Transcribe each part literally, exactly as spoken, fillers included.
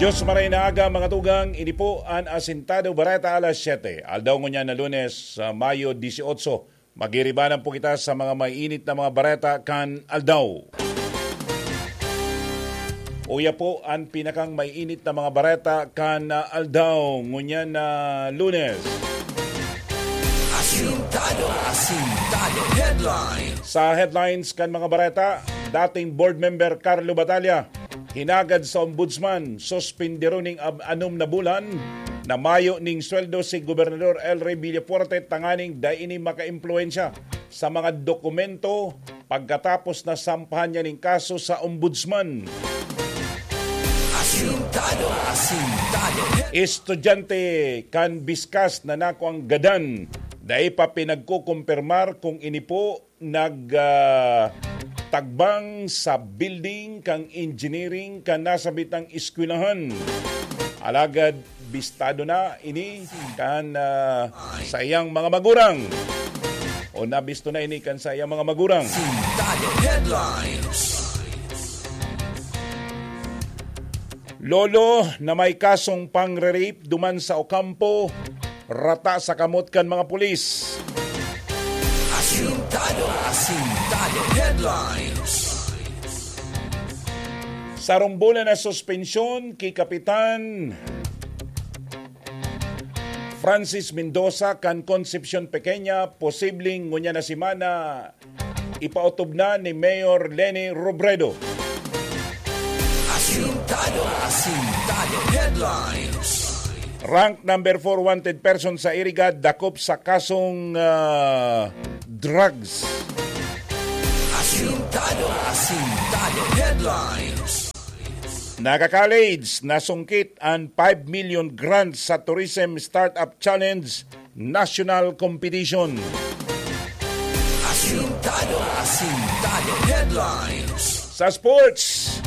Diyos maray na aga, mga tugang, ini po an Asintado Bareta alas siyete. Aldaw ngunyan na Lunes, sa Mayo dieciocho. Magiribanan po kita sa mga mainit na mga bareta kan aldaw. Uya po an pinakang mainit na mga bareta kan, ah, aldaw ngunyan na Lunes. Asintado, Asintado Headlines. Sa headlines kan mga bareta, dating board member Carlo Batalla, hinagad sa ombudsman, suspindiron ning ab-, anom na bulan, na mayo ning sweldo si Gobernador El Rey Villafuerte tanganing dai ini makaimpluwensya sa mga dokumento pagkatapos na sampahan niya ning kaso sa ombudsman. Asintado, Asintado. Estudyante kan Biskas na nakuang gadan, dai pa pinagkukumpirmar kung ini po nag, ah, tagbang sa building kan engineering kan nasabitang eskwelahan. Alagad bistado na ini kan, ah, sa iyang mga magurang. O nabisto na ini kan sa iyang mga magurang. Asintado Headlines. Lolo na may kasong pangre-rape duman sa Ocampo, rata sa kamot kan mga pulis. Asintado, Asintado Headlines. Sarong bulan na suspensyon ki Kapitan Francis Mendoza kan Concepcion Pequeña, posibleng ngunyan na semana ipaotob na ni Mayor Leni Robredo. Asintado, Asintado Headlines. Rank number four wanted person sa Iriga, dakop sa kasong, ah, drugs. Asintado, Asintado Headlines. Naga College, nasungkit an five million grant sa Tourism Startup Challenge National Competition. Asintado, Asintado Headlines. Sa sports,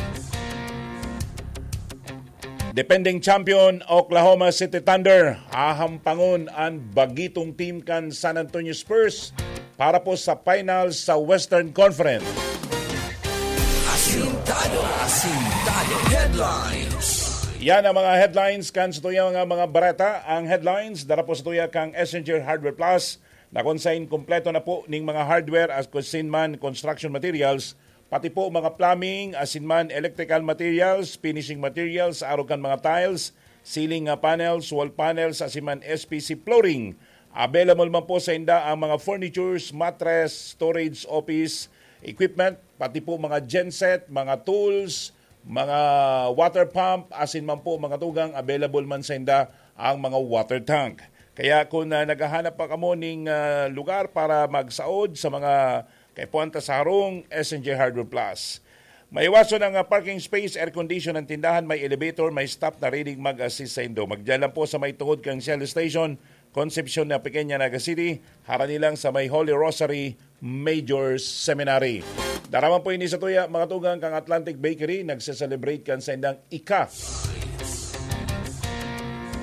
defending champion Oklahoma City Thunder, hahampangon an bagitong team kan San Antonio Spurs para po sa finals sa Western Conference. Asintado, Asintado Headlines. Yan ang mga headlines kan sa tuyang mga, mga bareta. Ang headlines, dara po sa tuya kang Essenger Hardware Plus, na kung sain kompleto na po ning mga hardware as kusin man construction materials, pati po mga plumbing, asin man electrical materials, finishing materials, arog kan mga tiles, ceiling, ah, panels, wall panels, asin man S P C flooring. Available man po sa inda ang mga furnitures, mattress, storage, office, equipment, pati po mga genset, mga tools, mga water pump, asin man po mga tugang, available man sa inda ang mga water tank. Kaya kung, ah, naghahanap pa kamo ning, ah, lugar para magsaod sa mga kaipuhan ta sa harong, S N J Hardware Plus. Maiwason ang, ah, parking space, air condition ang tindahan, may elevator, may staff na ready mag-assist sa indo. Magdiyan lang po sa may tungod kang Shell Station, Concepcion na Pequeña, Naga City, harani lang sa may Holy Rosary Major Seminary. Daraman po ini sa tuya, mga tugang, kang Atlantic Bakery, nagse-celebrate kan sa indang ika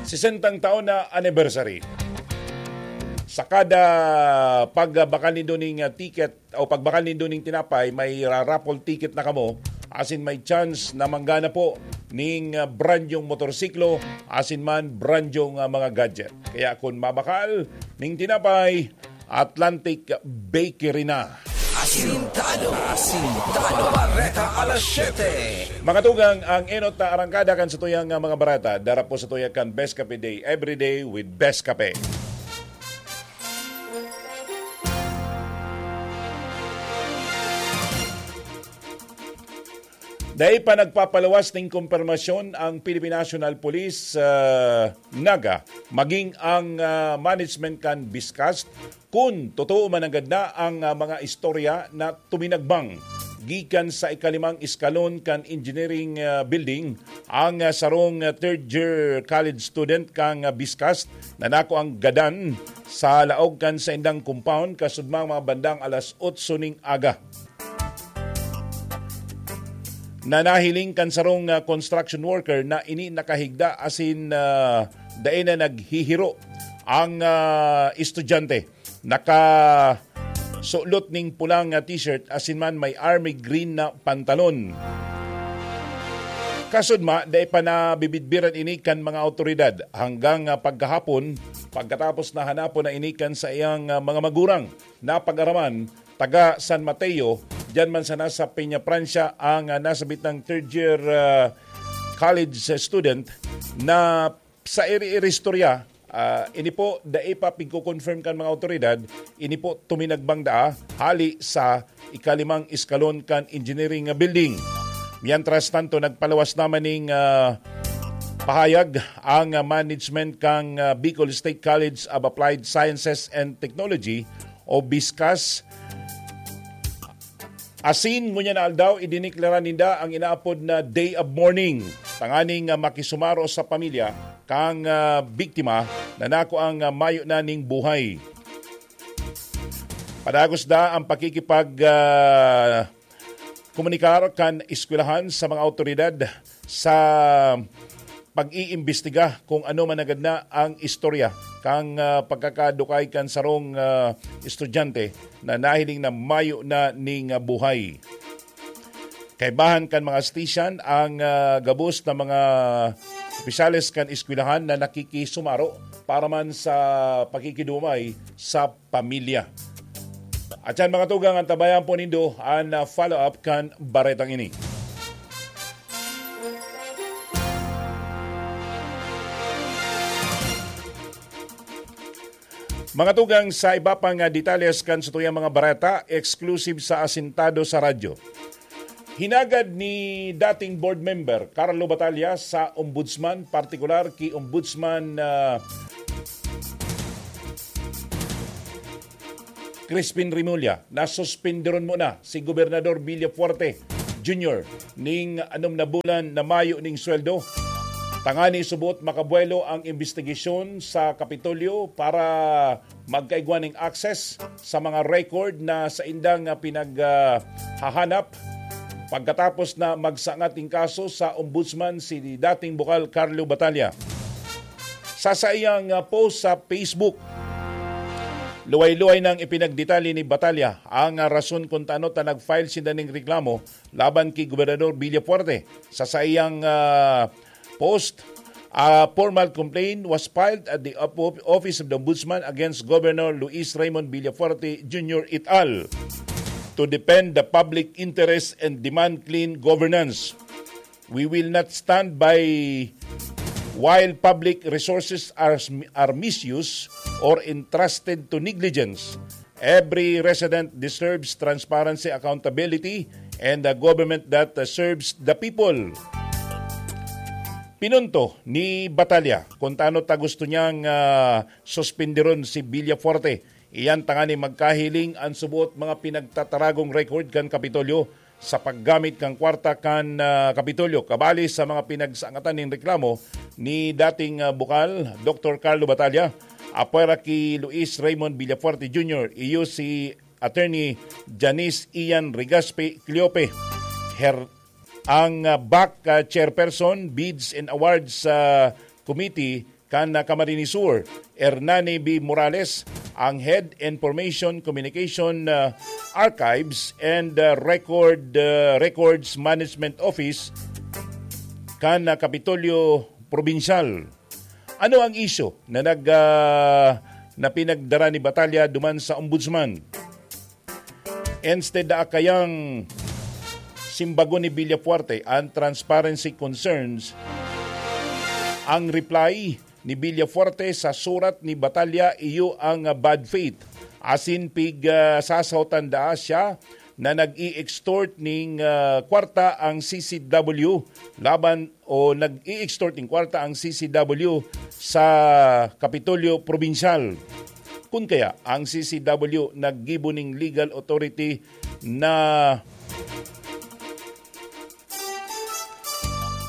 sesentang taon na anniversary. Sa kada pagbakal nindo ning, ah, ticket o pagbakal nindo ning tinapay, may ra-, raffle ticket na kamo, asin may chance na manggana po ning, ah, brand yung motorsiklo, asin man brand yung, ah, mga gadget. Kaya kung mabakal ning tinapay, Atlantic Bakery na. Asintado, Asintado Bareta alas siyete. Mga tugang, ang enot na arangkada kan sa tuyang, ah, mga bareta, dara po sa tuyang kan Best Cafe Day, every day with Best Cafe. Dai pa nagpapaluwas ning kumpirmasyon ang Philippine National Police, ah, Naga, maging ang, ah, management kan Biscast, kun totoo man nanggad na ang, ah, mga istorya na tuminagbang gikan sa ikalimang eskalon kan engineering, ah, building ang, ah, sarong, ah, third year college student kan, ah, Biscast na nakuang gadan sa laog kan saindang compound kasudmang mga bandang alas otso ning aga. Na nahiling kan sarong, ah, construction worker na ini nakahigda asin, ah, dai na naghihiro ang, ah, estudyante. Nakasulot ning pulang, ah, t-shirt asin man may army green na pantalon. Kasudma, dai pa nabibidbiran ini kan mga awtoridad hanggang, ah, pagkahapon, pagkatapos na hanapon na ini kan saiyang, ah, mga magurang na pag-araman, taga San Mateo, diyan man sana sa Peña Francia, ang, ah, nasabitang third year, ah, college student na sa iri-iri istorya, ah, ini po dai pa pigko-confirm kan mga awtoridad, ini po tuminagbang daa hali sa ikalimang eskalon kan engineering building. Mientras tanto, nagpalawas naman ning, ah, pahayag ang, ah, management kan, ah, Bicol State College of Applied Sciences and Technology o BISCAS. Asin ngunyan na aldaw, idineklara ninda ang inaapod na day of mourning, tanganing, ah, makisumaro sa pamilya kan, ah, biktima na nakuang, ah, mayo na ning buhay. Padagos na ang pakikipag, ah, komunikar kan eskwelahan sa mga awtoridad sa pag-iimbestiga kung ano man agad na ang istorya kan, ah, pagkakadukay kan sarong, ah, estudyante na nahiling na mayo na ning, ah, buhay. Kaibahan kan mga station ang, ah, gabos na mga opisyales kan eskwelahan na nakikisumaro para man sa pakikidumay sa pamilya. At yan, mga tugang, antabayan po nindo ang, ah, follow-up kan baretang ini. Mga tugang, sa iba pang, ah, detalles kan satuyang mga bareta, exclusive sa Asintado sa Radyo. Hinagad ni dating board member Carlo Batalla sa ombudsman, partikular ki Ombudsman, ah, Crispin Remulla, na suspenderon muna si Gobernador Villafuerte Junior ning anom na bulan na mayo ning sweldo. Tangani subot makabuelo ang imbestigasyon sa Kapitolyo para magkaigwa ning access sa mga record na saindang, ah, pinag, ah, hahanap pagkatapos na magsangat ning kaso sa ombudsman si dating bukal Carlo Batalla. Sa saiyang, ah, post sa Facebook, luway-luway nang ipinagdetalye ni Batalla ang, ah, rason kung tano ta nag-file sinda ning reklamo laban ki Gobernador Villafuerte. Sa saiyang, ah, post, a formal complaint was filed at the op-, Office of the Ombudsman against Governor Luis Raymond Villafuerte Junior et al to defend the public interest and demand clean governance. We will not stand by while public resources are, are misused or entrusted to negligence. Every resident deserves transparency, accountability, and a government that, uh, serves the people. Pinunto ni Batalla kung tano ta gusto niyang, ah, suspenderon si Villafuerte. Iyan tanganing magkahiling an subot mga pinagtataragong record kan Kapitolyo sa paggamit kan kwarta kan, ah, Kapitolyo. Kabali sa mga pinagsangatan nin reklamo ni dating, ah, bukal, Doktor Carlo Batalla, apwera ki Luis Raymond Villafuerte Junior, iyo si Attorney Janice Ian Rigaspi Cleope, Her-, ang, ah, bac, ah, Chairperson, Bids and Awards, ah, Committee, kan, ah, Camarines Sur, Hernani B Morales, ang Head Information Communication, ah, Archives and, ah, Record, ah, Records Management Office kan, ah, Kapitolyo Probinsyal. Ano ang isyu na nag, ah, na pinagdara ni Batalla duman sa Ombudsman? Instead na kayang simbagon ni Villafuerte ang transparency concerns, ang reply ni Villafuerte sa surat ni Batalla iyo ang bad faith. Asin pig, ah, sasahotan daa siya na nag-i-extort ning, ah, kwarta ang C C W laban o nag-i-extort ning kwarta ang C C W sa Kapitolyo Probinsyal. Kun kaya, ang C C W naggibo ning legal authority na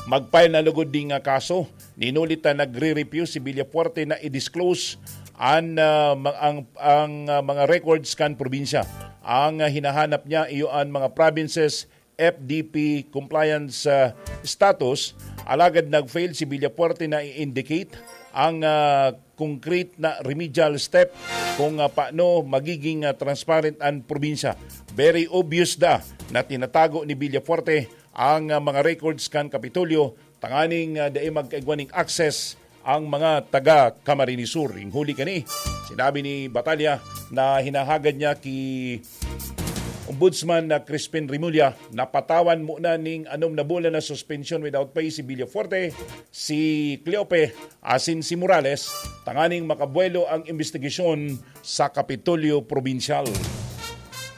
mag-file na lugod ning, ah, kaso. Ninulit na nagre-refuse si Villafuerte na i-disclose an, ah, ma-, ang, ang, ah, mga records kan probinsya. Ang, ah, hinahanap niya iyo an mga provinces F D P compliance, ah, status, alagad nag-fail si Villafuerte na i-indicate ang, ah, concrete na remedial step kung, ah, paano magiging, ah, transparent ang probinsya. Very obvious da na tinatago ni Villafuerte ang ah, mga records kan Kapitolyo tanganing ah, dai magkaigwa ning access ang mga taga Camarines Sur. Ing huli kani, sinabi ni Batalla na hinahagad niya ki Ombudsman na Crispin Remulla na patawan muna ning anom na bulan na suspension without pay si Villafuerte, si Cleope asin si Morales tanganing makabuelo ang investigasyon sa Kapitolyo Probinsyal.